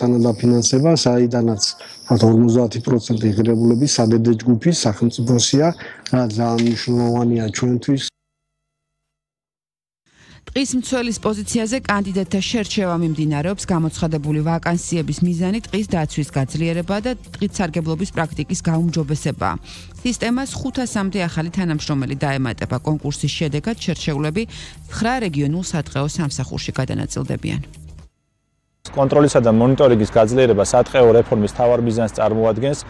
თანადაფინანსება, საიდანაც 50% ღირებულების საბედე ჯგუფის სახელმწიფოსია, რაც ძალიან მნიშვნელოვანია ჩვენთვის. ტყის მცველის პოზიციაზე კანდიდატთა შერჩევა მიმდინარეობს, გამოცხადებული ვაკანსიების მიზანი ტყის დაცვის გაძლიერება და ტყით სარგებლობის პრაქტიკის გაუმჯობესებაა. სისტემას 500-მდე ახალი თანამშრომელი დაემატება. კონკურსის შედეგად შერჩეულები 9 რეგიონულ სატყეო სამსახურში გადანაწილდებიან. კონტროლისა და მონიტორინგის გაძლიერება სატყეო რეფორმის მთავარ მიზანს წარმოადგენს.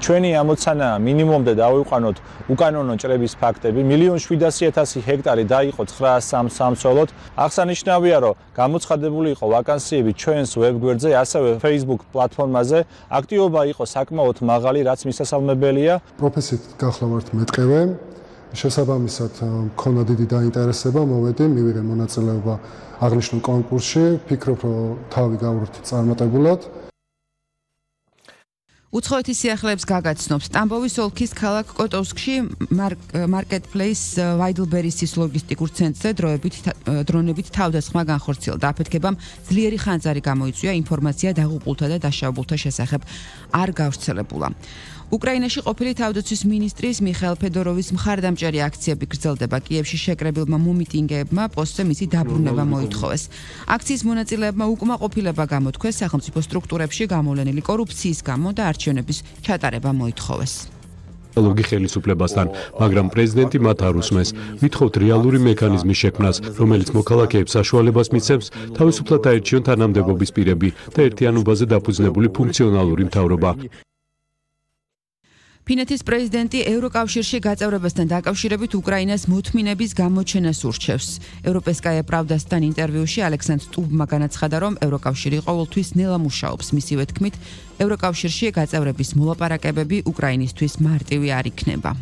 ჩვენი ამოცანაა მინიმუმდე დავიყვანოთ უკანონო ჭრების ფაქტები. 1,700,000 ჰექტარი დაიყო 903 სამსვლელოდ. აღსანიშნავია, რომ გამოცხადებული იყო ვაკანსიები ჩვენს ვებგვერდზე, ასევე Facebook პლატფორმაზე. აქტივობა იყო საკმაოდ მაღალი, რაც მისასალმებელია. პროფესიით გახლავართ მეტყევე. შესაბამისად, მქონდა დიდი დაინტერესება, მოვედი, მივიღე მონაწილეობა აღნიშნულ კონკურსში. ფიქრობ, რომ თავი გავვრთი წარმატებულად. უცხოეთის სიახლეებს გაგაცნობს. ტამბოვის ოლქის ქალაქ კოტოვსკში მარკეტპლეის ვაიდლბერისის ლოგისტიკურ ცენტრზე დრონებით თავდასხმა განხორციელდა. აფეთქებამ ძლიერი ხანძარი გამოიწვია, ინფორმაცია დაღუპულთა და დაშავებულთა შესახებ არ გავრცელებულა. უკრაინაში ყოფილი თავდაცვის მინისტრის მიხაილ ფედოროვის მხარდამჭერი აქციები გრძელდება. კიევში შეკრებილმა მომიტინგეებმა პოსტზე მისი დაბრუნება მოითხოვეს. აქციის მონაწილეებმა უკმაყოფილება გამოთქვეს სახელმწიფო სტრუქტურებში გამოვლენილი კორუფციის გამო და არჩევნების ჩატარება მოითხოვეს. ლოგი ხელისუფლებასთან, მაგრამ პრეზიდენტი მათ არ უსმენს. ვითხოვთ რეალური მექანიზმის შექმნას, რომელიც მოქალაქეებს საშუალებას მისცემს თავისუფლად აერჩიონ თანამდებობის პირები და ერთიანობაზე დაფუძნებული ფუნქციონალური მთავრობა. ფინეთის პრეზიდენტი ევროკავშირში გაწევრებასთან დაკავშირებით უკრაინას მოთმინების გამოჩენას ურჩევს. ევროპესკაია პრავდასთან ინტერვიუში ალექსანდრ სტუბმა განაცხადა, რომ ევროკავშირი ყოველთვის ნელა მუშაობს. მისივე თქმით, ევროკავშირში გაწევრების მოლაპარაკებები უკრაინისთვის მარტივი არ იქნება.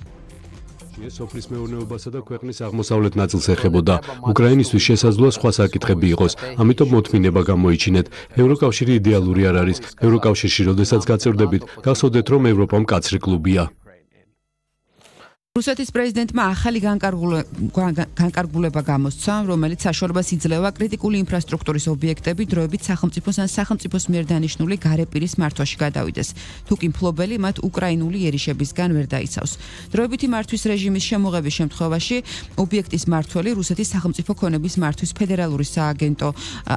სოფლის მეურნეობასა და ქვეყნის აღმოსავლეთ ნაწილს ეხებოდა. უკრაინისთვის შესაძლოა სხვა საკითხები იყოს, ამიტომ მოთმინება გამოიჩინეთ. ევროკავშირი იდეალური არ არის. ევროკავშირში როდესაც გაწევრდებით, გახსოვდეთ, რომ ევროპა მკაცრი კლუბია. რუსეთის პრეზიდენტმა ახალი განკარგულება გამოსცა, რომელიც საშუალებას იძლევა კრიტიკული ინფრასტრუქტურის ობიექტები დროებით სახელმწიფოს ან სახელმწიფოს მიერ დანიშნული გარეპირის მართვაში გადავიდეს. თუკი მფლობელი მათ უკრაინული იერიშებისგან ვერ დაიცავს. დროებითი მართვის რეჟიმის შემოღების შემთხვევაში ობიექტის მმართველი რუსეთის სახელმწიფო ქონების მართვის ფედერალური სააგენტო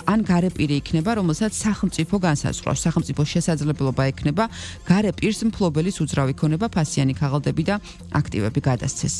ან გარეპირი იქნება, რომელსაც სახელმწიფო განსაზღვრავს. სახელმწიფოს შესაძლებლობა ექნება გარეპირს მფლობელის უძრავი ქონება, ფასიანი ქაღალდები და აქტივები გადასცეს.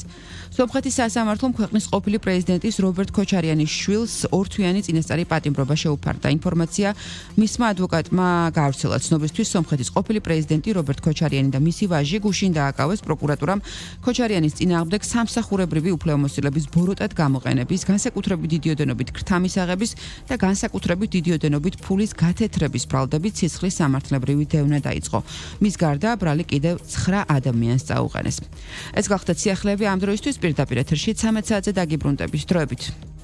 სომხეთის სასამართლომ ქვეყნის ყოფილი პრეზიდენტის რობერტ ქოჩარიანის შვილს ორთვიანი წინასწარი პატიმრობა შეუფარდა. ინფორმაცია მისმა ადვოკატმა გაავრცელა. ცნობისთვის სომხეთის ყოფილი პრეზიდენტი რობერტ ქოჩარიანი და მისი ვაჟი გუშინ დააკავეს პროკურატურამ ქოჩარიანის წინააღმდეგ სამსახურებრივი უფლებამოსილების ბოროტად გამოყენების, განსაკუთრებით დიდი ოდენობით ქრთამისაღების და განსაკუთრებით დიდი ოდენობით ფულის გათეთრების ბრალდებით სისხლის სამართლებრივი დევნა დაიწყო. მის გარდა ბრალი კიდევ 9 ადამიანს წაუყენეს. ეს გახდა სიახლეები ამ დროისთვის პირდაპირ ეთერში 13 საათზე დაგიბრუნდებით. დროებით.